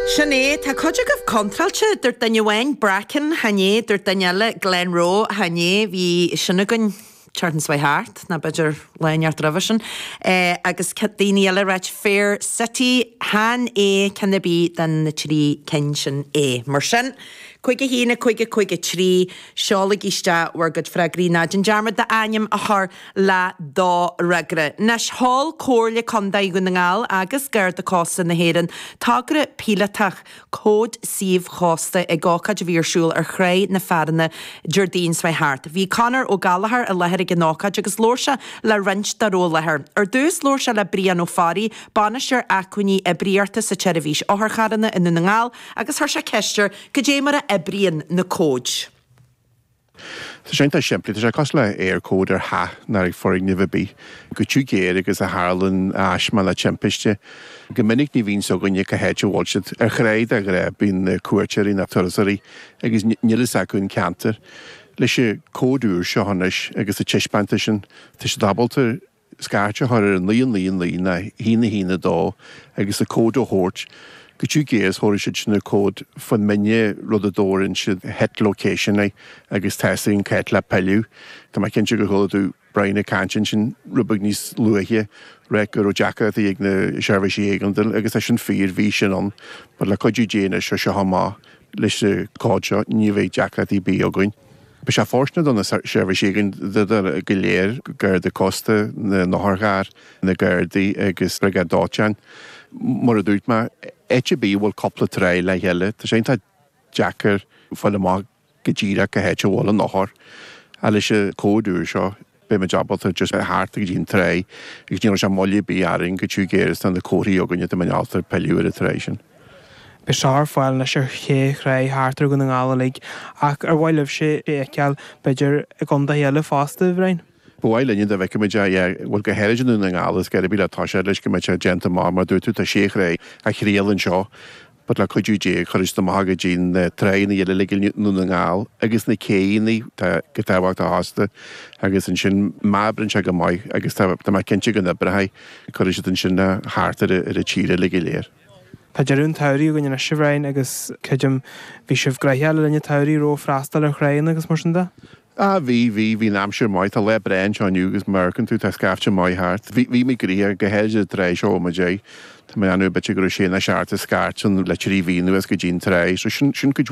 Sin é, tá cuid agaibh contráilte, dúirt duine amháin Bracken, chan é, dúirt duine eile Glenroe, chan é, bhí sin againn tseachtain seo thart, nó b'fhéidir lá inteacht roimhe sin, agus daoine eile ag ráit Fair City, chan é ceann ar bith de na trí cinn sin é. Mar sin, 5 1 5 5 3, seolaigí isteach bhur gcuid freagraí, ná déan dearmad d'ainm a chur le do fhreagra. Anois, sheol Comhairle Contae Dhún na nGall agus Garda Cósta na hÉireann togra píolótach Cód Suímh Chósta ag ócáid a bhí ar siúl ar Thráigh na Fearanna Déardaoin seo thart. Bhí Conor Ó Gallchóir i láthair ag an ócáid agus labhair sé le roinnt dá raibh i láthair. Ar dtús labhair sé le Brian Ó Fearraigh, Bainisteoir Acmhainní Oibríochta sa tSeirbhís Otharcharranna i nDún na nGall agus chuir sé ceist air cad é mar a oibríonn na cóid. Tá sé iontach simplí, tá sé cosúil le Eircode ar theach nó ag foirgneamh ar bith. Go tiubh géar agus a tharlann aisme le timpiste. Go minic ní bhíonn 's againne cá háit a bhfuil siad. Ar thráigh de ghnáth bíonn na cuairteoirí nó turasóirí agus níl fhios acu an ceantar. Leis an cód úr seo anois agus an taispeántas sin, tá siad ábalta scairt a chur ar 9 9 9 nó 1 1 2 agus an cód a thabhairt go tiubh géar is thabharfaidh siad sin an cód fán mine rud a dtabharann siad hit location air agus tá 'fhios againn cá háit le pilleadh. Tá mé cinnte gur chuala tú Brian ag caint ansin rud beag níos luaithe rá go raibh deacrachtaí ag na seirbhísí éigeandála agus tá sin fíor, bhí sin ann but le cuidiú Dé anois ó seo amach leis an cód seo ní bheidh deacrachtaí ar bith againn. Beidh sé fóirsteanach do na seirbhísí éigeandála go léir, Garda Cósta, na n-otharcharr, na Gardaí agus Briogáid Dóiteáin. Mar a dúirt mé, áit ar bith a bhfuil cúpla tráigh le chéile, tá sé iontach deacair fáil amach go díreach cá háit a bhfuil an othar. Ach leis an cód úr seo, beidh muid ábalta just theacht go dtí an tráigh agus ní raibh sé moill ar bith orainn go tiubh géar is tá na comharthaí againne tá muid ábalta pilleadh ar an tráigh sin. Beidh seo ar fáil anois ar ché thráigh thart ar Dhún na nGall uilig ach ar mhaith libhse é a fheiceáil b'fhéidir i gcontaetha eile fosta, a Bhriain? Ba mhaith linne dá bhfeicfimid é, yeah, bhuel go háirid i nDún na nGall is gurb í le toiseacht leis go mbeidh sé déanta amach mar dúirt tú tá sé thráigh á thriail anseo But le cuidiú Dé, cuirfidh siad amach go dtí na tráigheanna eile uilig i nDún na nGall agus na céidheanna tá go tábhachtach fosta agus ansin má oibreann sé go maith agus tá tá mé cinnte go n-oibreoidh, cuirfidh siad ansin thart ar ar an tír uilig go léir. Tá deireadh an tsamhraidh againn anois a Bhriain agus creidim bhí sibh gnoitheach le linn an tsamhraidh raibh freastal ar thráigheanna agus mar sin de? Ah bhí, bhí, bhí an aimsir maith, tá lá breá anseo inniu agus mar a fheiceann tú tá scaifte maith thart. Bhí, bhí muid gnoitheach, go háirid an tráigh seo a bhfuil muid ag. Tá mé ag déanamh b'fhéidir go raibh sé nó seacht scairt ann le trí mhí anuas go dtí an tráigh, so sin, sin cuid.